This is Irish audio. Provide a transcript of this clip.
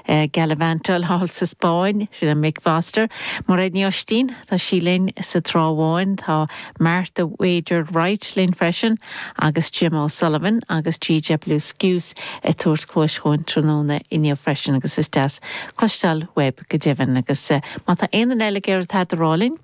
Gallivantáil thall sa Spáinn, sin é Mick Foster. Mairéad Ní Oistín, tá sí linn sa Trá Bháin, tá Martha Wager Wright linn freisin agus Jim O'Sullivan agus GW Skuce ag tabhairt cluais dhúinn tráthnóna inniu freisin agus is deas cloisteáil uaibh go deimhin agus má tá aon duine eile ag iarraidh tada a rá linn.